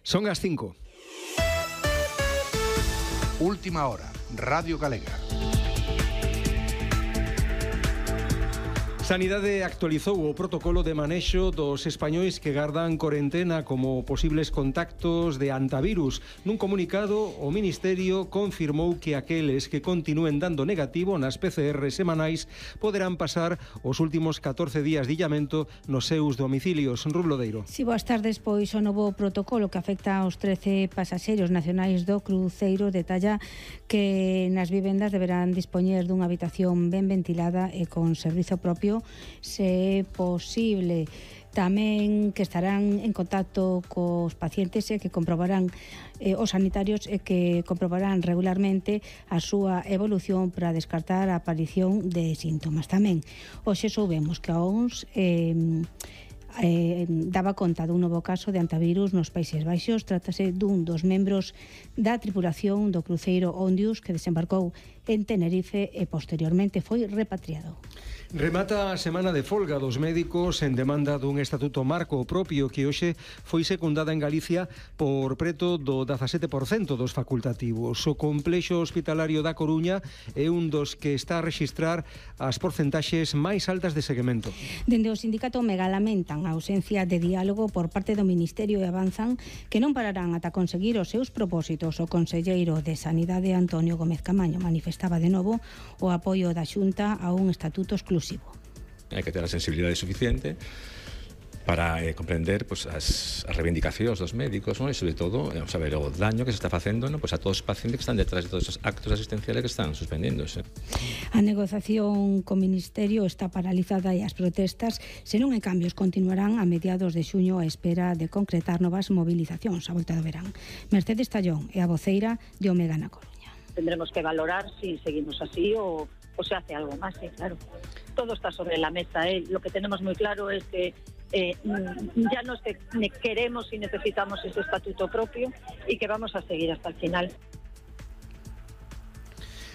Son as 5. Última hora, Radio Galega. Sanidade actualizou o protocolo de manexo dos españois que gardan corentena como posibles contactos de antivirus. Nun comunicado, o Ministerio confirmou que aqueles que continúen dando negativo nas PCR semanais poderán pasar os últimos 14 días de illamento nos seus domicilios. Ruth Lodeiro. Si, boas tardes, pois o novo protocolo que afecta aos 13 pasaxeiros nacionais do cruceiro detalla que nas vivendas deberán dispoñer dunha habitación ben ventilada e con servizo propio, se é posible. Tamén que estarán en contacto cos pacientes e que comprobarán os sanitarios e que comprobarán regularmente a súa evolución para descartar a aparición de síntomas. Tamén hoxe soubemos que a OMS daba conta dun novo caso de antivirus nos Países Baixos. Trátase dun dos membros da tripulación do cruceiro Ondius que desembarcou en Tenerife e posteriormente foi repatriado. Remata a semana de folga dos médicos en demanda dun estatuto marco propio que hoxe foi secundada en Galicia por preto do 17% dos facultativos. O complexo hospitalario da Coruña é un dos que está a rexistrar as porcentaxes máis altas de seguimento. Dende o sindicato Omega lamentan a ausencia de diálogo por parte do Ministerio e avanzan que non pararán ata conseguir os seus propósitos. O conselleiro de Sanidade, Antonio Gómez Camaño, manifestaba de novo o apoio da Xunta a un estatuto exclusivo. Hai que ter a sensibilidade suficiente para comprender as reivindicacións dos médicos, e sobre todo saber o daño que se está facendo a todos os pacientes que están detrás de todos os actos asistenciales que están suspendéndose. A negociación co Ministerio está paralizada e as protestas, se non hai cambios, continuarán a mediados de xuño a espera de concretar novas movilizacións a volta do verán. Mercedes Tallón é a voceira de Omega na Coruña. Tendremos que valorar si seguimos así o se hace algo más, claro. Todo está sobre la mesa. Lo que tenemos muy claro es que ya no queremos y necesitamos ese estatuto propio y que vamos a seguir hasta el final.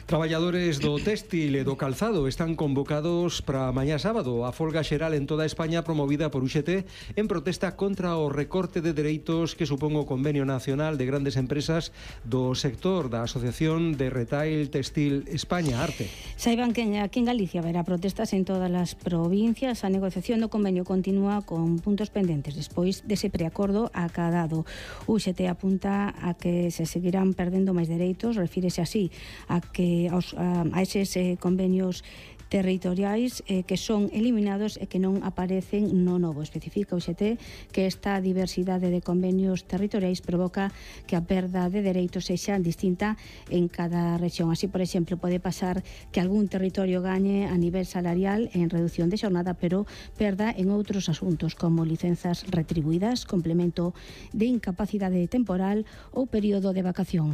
Traballadores do téxtil e do calzado están convocados para mañá sábado a folga xeral en toda España promovida por UGT en protesta contra o recorte de dereitos que supón o Convenio Nacional de Grandes Empresas do sector da Asociación de Retail Textil España, ARTE. Saiban que aquí en Galicia haberá protestas en todas as provincias. A negociación do convenio continúa con puntos pendentes despois dese preacordo acadado. UGT apunta a que se seguirán perdendo máis dereitos, refírese así a que a eses convenios territoriais que son eliminados e que non aparecen no novo. Especifica o UGT que esta diversidade de convenios territoriais provoca que a perda de dereitos sexa distinta en cada rexión. Así, por exemplo, pode pasar que algún territorio gañe a nivel salarial en reducción de xornada, pero perda en outros asuntos como licenzas retribuídas, complemento de incapacidade temporal ou período de vacacións.